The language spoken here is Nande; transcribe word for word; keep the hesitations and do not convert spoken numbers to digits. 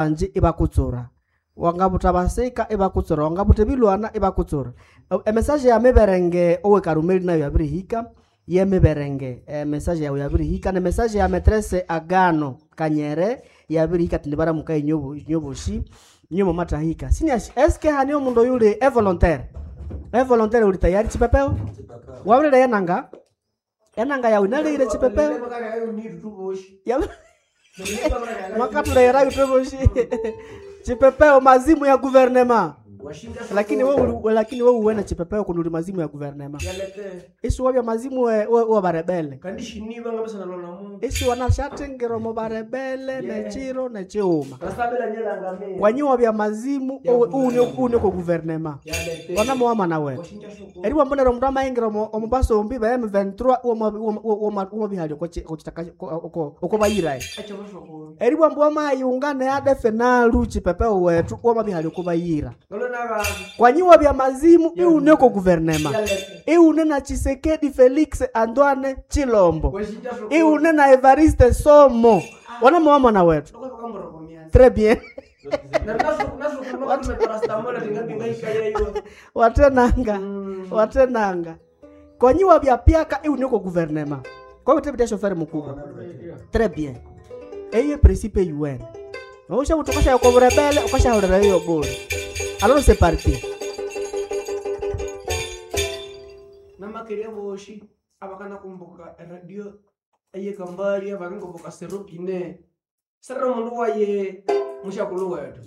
Banji ibakutsura, wangabutha basika ibakutsura, wangabutha ebilwana ibakutsura. Emessage ya miberenge owe Karumeli nayo yabirihika, yemiberenge emessage yawe yabirihika, nemessage ya maîtresse Agano Kanyere yabirihika ati nibaramuka inyoboshi inyo mwamatahika. Siniashi eske hane omundu oyuli evolontaire? Evolontaire uli tayari chipepeo? Wabirire enanga? Enanga yawe inalehire chipepeo? Mwakatulehera ithwe chipepeo mazimu ya gouvernement. Lakini wewe lakini wewe uwene chipepeo kundi uli mazimu ya gouvernement. Isi wabya mazimu we, we, we barebele. Isi wanashathengera omo barebele nechiro nechiuma. Wanyi wabya mazimu une une ko gouvernement. Wanamuwama nawe. Eriwa mbonera omundu amayingira omo omubasombi ba M twenty-three omo bihali oko oko bayirae. Eriwa mbu amayunga ne A D F nalu chipepeo wetu omo bihali oko bayira. Kwanyi wabya mazimu iune ko gouvernement. Iune na Tshisekedi Felix Antoine Tshilombo. Iune na Evariste Somo. Wanamuwama na wetu. Très bien. Watenanga, watenanga. Kwanyi wabya piaka iune ko gouvernement. Kwa hiyo chauffeur mkubwa. Très bien. Eye principe U N. Osha utokasha kwa rebele, ukasha horera hiyo bure. Alors c'est parti. Namakeria boshi abakana kumbuka radio eye kambali abakangoboka serupine. Sera mundu waye mushakulu wetu.